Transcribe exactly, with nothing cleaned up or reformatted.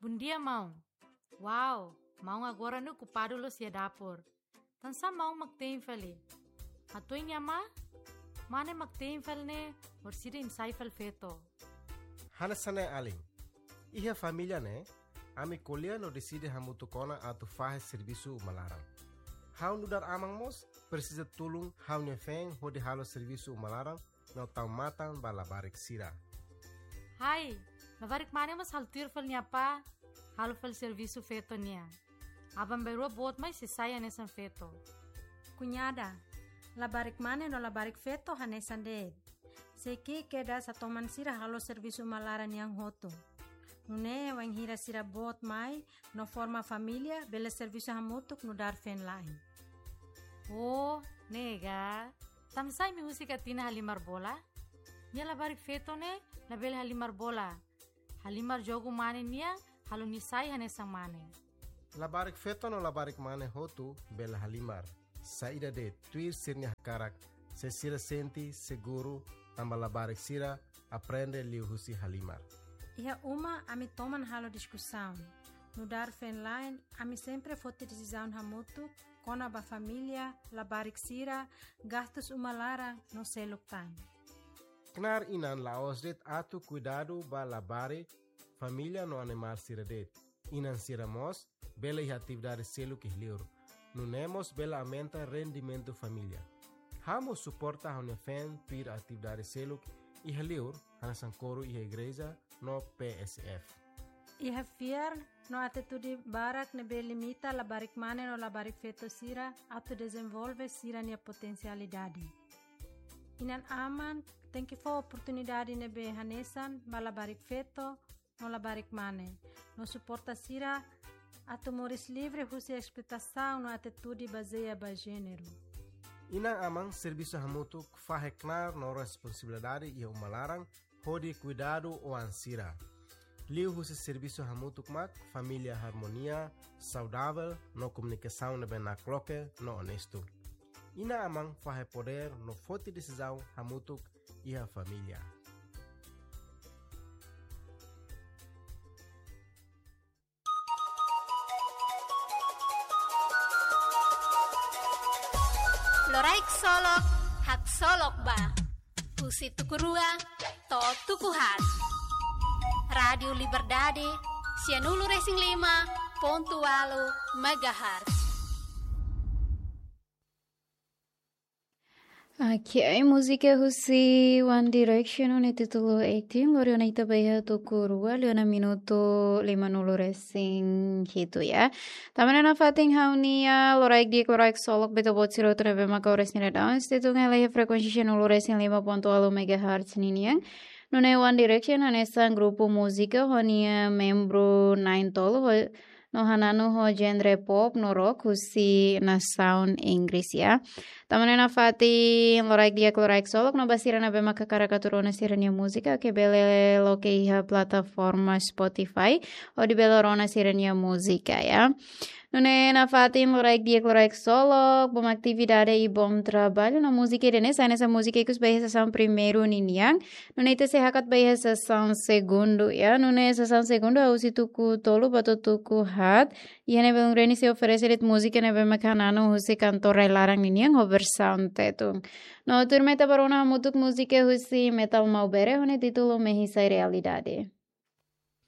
Bondia, maun. Wow, maun agora ne'e okupadu loos iha dapur. Tansá maun mak tein fali? Hatuan nia amá, mane mak tein fali ne'e, orsida imi sai fali feto. Hanesan ne'e alin. Iha família ne'e, ami ko'alia no deside hamutuk ona atu fahe servisu uma laran. Ha'u nu'udar aman mós presiza tulun ha'u-nia feen hodi halo servisu uma laran no tau matan ba labarik sira. Hai, labarik mane mós halo tuir fali nia apá, halo fali servisu feto nian. Aban-bainrua boot mai sei sai hanesan feto. Kuñada, labarik mane no labarik feto hanesan de'it. Sei ki'ik kedas atu toman sira halo servisu uma laran nian hotu. Nune'e wainhira sira boot mai no forma família, bele servisu hamutuk nu'udar feen-la'en. Oh, ne'e ka. Tansá imi husik Atina halimar bola? Nia labarik feto ne'e labele halimar bola. Halimar jogu mane nian, halo nia sai hanesan mane. Labarik feto no labarik mane hotu bele halimar. Saida de'it, tuir sira-nia hakarak, se sira sente seguru, tanba labarik sira aprende liuhusi halimar. Iha uma ami toman halo diskusaun. Nu'udar feen-la'en, ami sempre foti desizaun hamutuk kona-ba família, labarik sira, gastus uma laran no seluk tan. Knaar inan la'ós de'it atu kuidadu ba labarik, família no animál sira de'it. Inan sira mós bele iha atividade seluk iha li'ur. Nune'e mós bele aumenta rendimentu família. Ha'u mós suporta ha'u-nia feen tuir atividade seluk iha li'ur, hanesan koru iha igreja no P S F. Iha fiar no atitude barak ne'ebé limita labarik mane no labarik feto sira atu dezenvolve sira-nia potensialidade. Inan-aman tenke fó oportunidade ne'ebé hanesan ba labarik feto no labarik mane, no suporta sira atu moris livre husi esploitasaun no atitude bazeia ba jéneru. Inan-aman servisu hamutuk fahe knaar no responsabilidade iha uma laran hodi kuidadu oan sira. Liuhusi servisu hamutuk mak família harmonia, saudavel no komunikasaun ne'ebé nakloke no onestu. Inan-aman fahe podér no foti desizaun hamutuk iha família. Loraik Solok, haksolok ba. Husi tuku rua to'o tuku haat. Rádiu Liberdade, sianulu resin lima pontu ualu megahertz. Oke, múzika husi One Direction ho nia títulu eighteen, lori ona ita ba iha tuku rua, liu ona minutu limanulu resin hitu ya. Tanba ne'e nafatin ha'u-nia loraik di'ak, loraik solok ba ita-boot sira hotu ne'ebé maka oras ne'e daudaun sei tun hela iha frekuénsia sianulu resin lima pontu ualu megahertz ninian. Nune'e One Direction hanesan grupu múzika ho nia membru na'in-tolu ho no hananu ho genre pop no rock husi nasaun Inggris ya. Tanba ne'e nafatin loraik di'ak, loraik solok no ba sira ne'ebé maka hakarak atu rona sira-nia múzika, oke, bele loke iha plataforma Spotify hodi bele rona sira-nia múzika ya. Nune'e nafatin loraik di'ak, loraik solok, bom atividade i bom trabalho. No múzika ida-ne'e sai hanesan múzika ikus ba iha sesaun primeiru ninian. Nune'e ita sei hakat ba iha sesaun segundu ya. Nune'e sesaun segundu husi tuku tolu ba to'o tuku haat. Iha ne'e belun reni sei oferese de'it múzika ne'ebé maka hananu husi kantór rai-laran ninian ho versaun Tetun. No tuirmai ita bá rona hamutuk múzika husi Metal Maubere ho nia títulu Mehi Sai Realidade.